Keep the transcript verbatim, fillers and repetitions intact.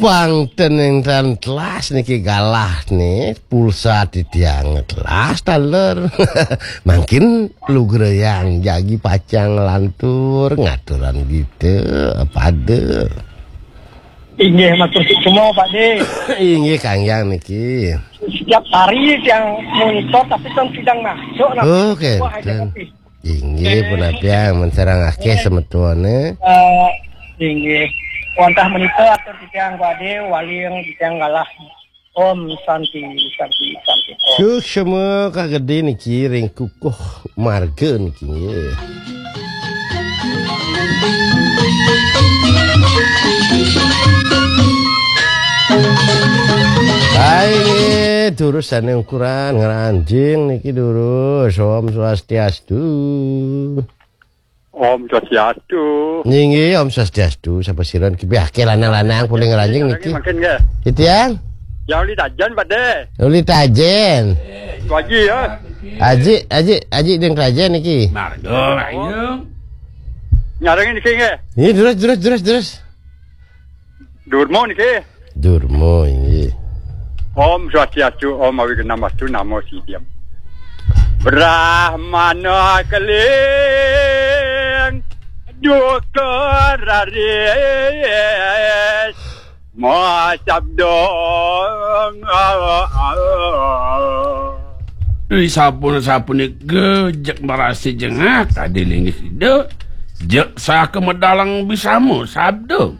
Pang ten ing tan telas niki galah nih, pulsa titiang telas taler. Mangkin lugrayang jagi pacang lantur ngaturan kita pada. Inggih, matur suksma, Pak De. Inggih, Kang Yang niki. Setiap hari tiang monitor, tapi kan sidang masuk, nah. Oh, wah, kenten. Inggih, punapi, ya, men sareng akeh semetone. Eh, inggih. Wantah menika atur titiang Pak De, waling titiang galah. Om Santi, Santi, Santi, Om. Suksma kagede niki ring kukuh marga niki, nggih. Hai, nggih, durus sane ukuran ngranjing niki durus. Om Swastiastu. Om Swastiastu. Nggih, Om Swastiastu. Sapa sira niki? Piake lanang-lanang polih ngranjing niki. Mangkin nggih. Titiang? Ya, uli tajen, Pak De. Uli tajen. Waji ya. Aji, aji, aji ding tajen niki. Marga, ayo. Nyarengin niki nggih. Nggih, terus, terus, terus, terus. Durmo niki. Durmo, inggih. Om Swastiastu, Om Awignamastu, Namo Sidham. Brahmana keling duka raris ma sabda. Ri sampun sapunika jeg marasi jengah tadi linggih Ida. Jeg saka medalang bisama sabda.